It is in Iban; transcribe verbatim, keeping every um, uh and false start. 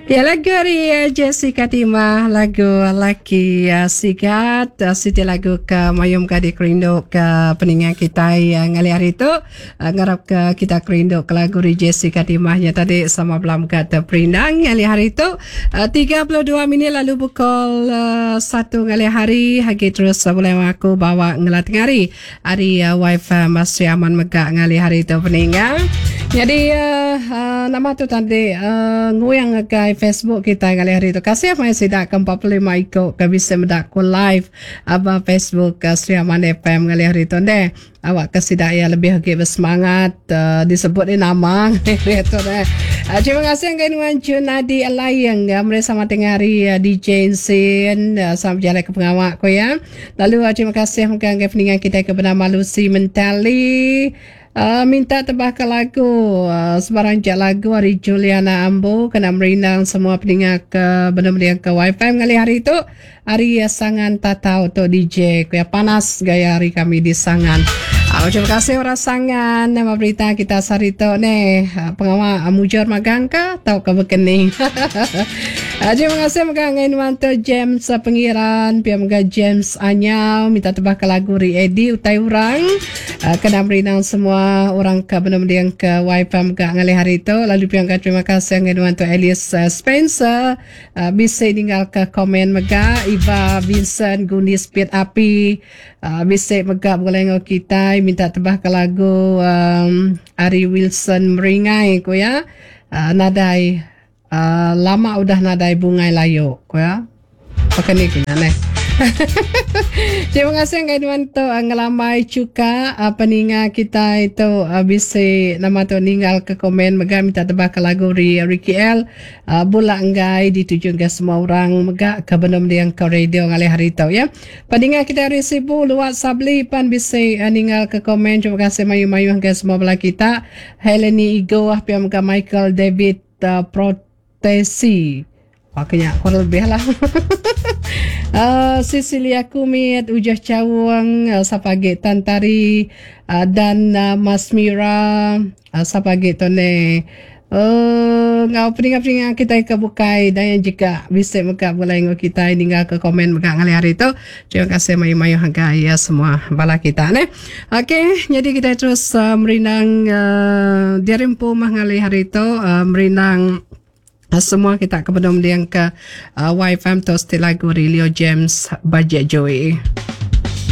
Ya lagu ari eh, Jessica Timah lagu laki eh, sigat eh, siti lagu ke mayum ka dikerindu ke peninga kitai ngalih hari tu ngarap ke kita kerindu ke lagu ari Jessica Timah nya tadi sama bela mega teperindang ngalih hari tu tiga puluh dua minit lalu pukul satu ngalih hari agi terus bulai aku bawa ngela tengari ari wifi Sri Aman mega ngalih hari tu peninga. Nyadi nama tu tadi nguing ngagai Facebook kitai ngalih hari tu. Kasih maya sida ke empat puluh lima iku ke bisi meda ku live ba Facebook Sri Aman F M ngalih hari tu ndeh. Awak ke sida iya lebih agi besemangat disebut ni nama ngalih hari tu neh. Terima kasih ngagai nuan Junadi Laing meri sama tengah hari D J Ensin sama bejalai ke pengawa ku iya. Lalu terima kasih mega ngagai peninga kitai ke benama Lucy Mentali. Uh, minta tebah ke lagu uh, sebarang jak lagu ari Juliana Ambu kena merindang semua peninga ke benar-benar ke wifi ngalih hari tu ari uh, Sangan Tatau tu D J ku ya panas gaya hari kami di Sangan. Uh, terima kasih orang Sangan nama berita kita sehari tu ni uh, pengawa uh, mujur magang ke tau ke bekening. uh, terima kasih mega ngai nuan tu James uh, Pengiran pia mega James Anyau minta tebah ke lagu ri Eddie utai orang uh, kena merindang semua orang ke benar-benar ke wifi mega ngalih hari tu lalu pia mega terima kasih ngai nuan tu Alice uh, Spencer uh, bisa ninggal ke komen mega Eva Vincent Gunis Pit Api uh, bisa mega boleh ngau kita minta tebah ke lagu um, Ari Wilson Meringai ku ya uh, nadai uh, lama udah nadai bungai layu ku ya pakai ni kena neh. Terima kasih ngai nuan tu ngelambai cuka peninga kita itu bisi nama tu ninggal ke komen mega minta tebah ke lagu ri Ricky L bula enggai dituju ke semua orang mega ke benum diang ke radio ngalih hari tu ya. Peninga kita hari Sibu Luat Sabli pan bisi ninggal ke komen. Terima kasih mayu-mayu ke semua bala kita. Heleni Igo pia mega Michael David uh, Protesi. Pakainya kurang lebih lah. Uh, Cecilia Kumit, Ujah Cawang, uh, Sapagi Tantari, uh, dan uh, Mas Mira, uh, Sapagi Tone. Uh, ngau peninga-peninga kita ke bukai dan yang jika bisa mega boleh ngau kita ninggal ke komen mega ngalih hari tu. Terima kasih mayu-mayu harga ya semua bala kita ne. Okey, jadi kita terus uh, merindang uh, dirimpu mah ngalih hari tu uh, merindang semua kita ke bedom diang ke uh, Y F M tu still lagu Leo James Budget Joy.